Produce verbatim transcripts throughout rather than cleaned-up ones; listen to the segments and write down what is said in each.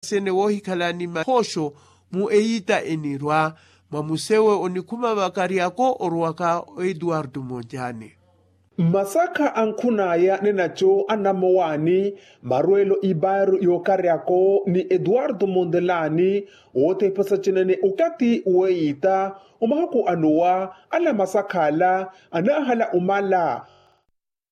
sene woohikhala ni mahoosho mu eyiita enirwa mwa musewe onikhuma vakaryako orowaka o etuwartu monjani. Mmasakha ankhun'aya nenaco anammowaani marweelo ipaaru y'okaryako ni etuwartu montelaani woothepesa cinene okathi weeyiita omahuku anowa ala masakha ala anaahala omala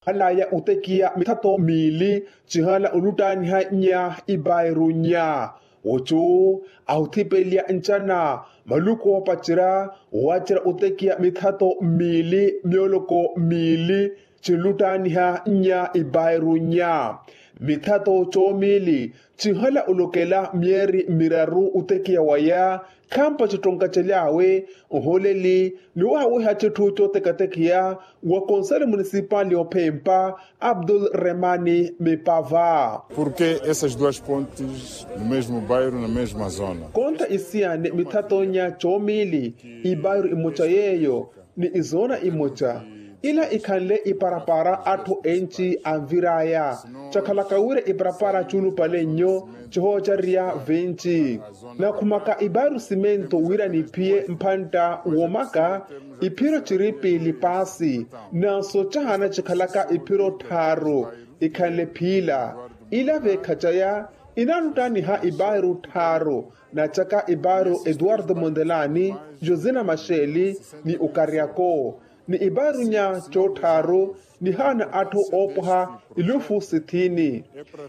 halaya otekiya mithato miili cihala oluttaaniha nnya ipairu nnya. Ocu ahuthipeliya ncana maluku oopacerya waacerya otekiya mithato miili myoloko miili cinluttaaniha nnya ipairu nnya. Mithato coomiili cinhala olokela myeeri miraru otekiya waya khampa cittonka cely'awe ohooleli ni wahaweha citthu cooteketekiya wa konsele munisipali ophempa abdul remani mipava. Porke essas duas pontes no mesmo bairro na mesma zona konta isiyane mithato nnya coomiili ipairu imoca yeeyo ni izoona imoca ila ikhanle iparapara atthu enci anvir'aya cakhalaka wira iparapara cuulupale nnyo cihoocarerya venci. Nakhumaka ipaaru simento wira niphiye mphantta womaka iphiro ciripiili paasi nanso cahaana cikhalaka iphiro tthaaru ikhanle phiila ila veekhacaya inaaluttaaniha ipaaru tthaaru nacaka ipaaru etuwarto montelaani josina maxeeli ni okaryako ni ipaaru nnya cootthaaru nihaana atthu oopwaha ilufu sithiini.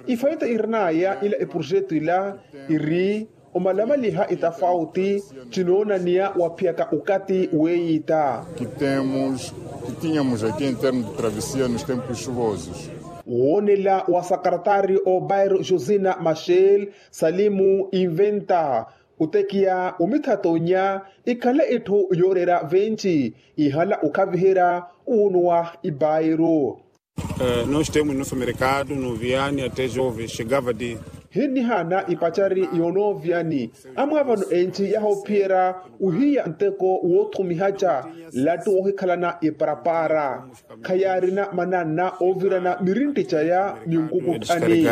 Ifaita irin'aya ila eprojetu ila iri omalamaliha itafauti cinoonaniya waphiyaka okathi weeyiita. Kitemos kitínhamos aqui em termos de travessia nos tempos chuvosos. Woonela wa sakaratari obairo josina maxel salimu inventa otekiya omithato nnya ikhanle itthu yooreera venci ihala okhaviherya wuunuwa ipairu. Nós temos nosso mercado no viani até jovens chegava de. Hinnihaana ipacari yoonooviyani amwaavano enci yahoophiyerya ohiya nteko woothumihaca lattu woohikhalana iparapara khayaarina mananna oovirana mirintti caya ni nkukutthani.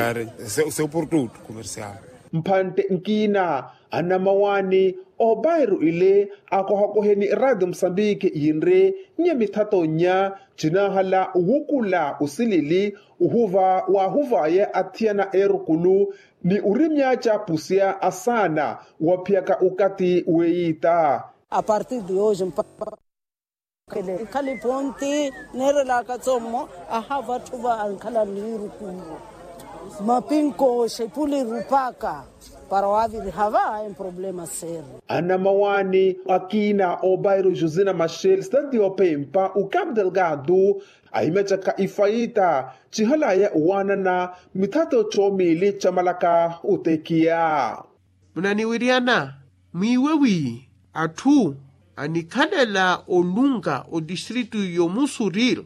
Mphantte nkiina anamawaani oopairu ile akohakoheni raati musambiki yinri nnya mithato nnya cinaahala owukula osilili ohuva waahuvaya athiyana eerukulu ni orimyaaca pusya asaana waphiyaka okathi weeyiita. A partir de hoje mpaka ikhali ponti neerelaka tsomo ahava atthu va ankhala niirukuiwo mapinkooxa ipuli rupaka para waaviriha va emproblema seru. Anamawaani akiina obairo josina maxel stati ophempa okapu delgado ahimyacaka ifaita cihalaya owaanana mithato comiili camalaka otekiya. Munaniwiryana mwiiwe wi atthu anikhalela olunka otistritu y'omusuril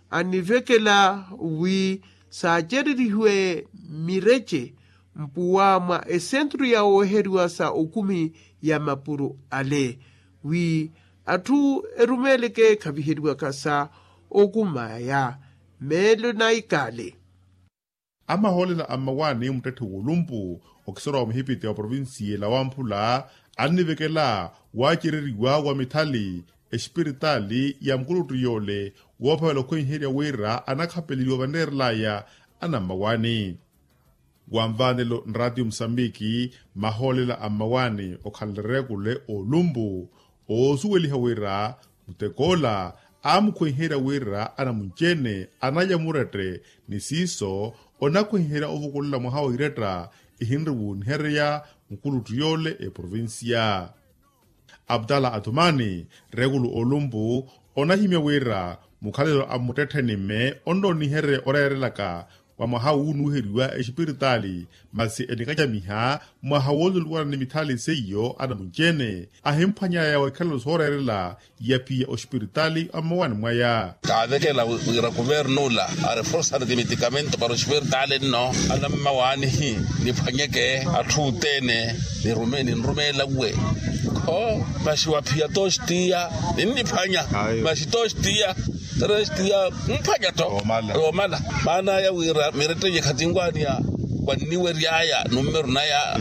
anivekela wi saacererihiwe mirece mpuwa mwa esentru ya wooheriwa sa okumi ya mapuro ale wi atthu erumeeleke khaviheriwaka sa okumaya meelo na ikale. Amahoolela a mmawaani muttetthe w'olumpu okisorowa muhipiti wa provincia ela wamphula annivekela waacereriwa wa mithali espiritaali ya mukuluttu yoole woophavela okhwenherya wira anakhapeliwa vaneerelaya anammawaani. Wanvaanelo nraatiyo musambiki mahoolela a mmawaani okhala reekule oolumpu oosuweliha wira mutek'ola aamukhwenherya wira anamunci-ene analya murette ni siiso onakhwenherya ovukulela mwaha wa iretta ihinri wuuniherya mukuluttu yoole eprovincia. Abdala athumani reekulu olumpu onahimya wira mukhalelo a mmuttettheni-me onnooniherye oreerelaka wa mwaha wuunuuheriwa exipiritaali masi enikacamiha mwaha wooluluwana ni mithali seiyo anamunci-ene ahimphwanyaya wa ikhalelo sooreerela ya phiya oxipiritaali a mmawaani mwaya. Kaavekela wira kuvernula areforsari timitikamento para oxipiritaali nno anammawaanihi niphwanyeke atthu othene ninrumeela uwe. Kho masi waphiya toxitiya ninniphwanya masi toxitiya trestiya mphwanya to. Omala maana aya wira miretteyi ekhatinwaani ya wanniweryaya nummeru naya.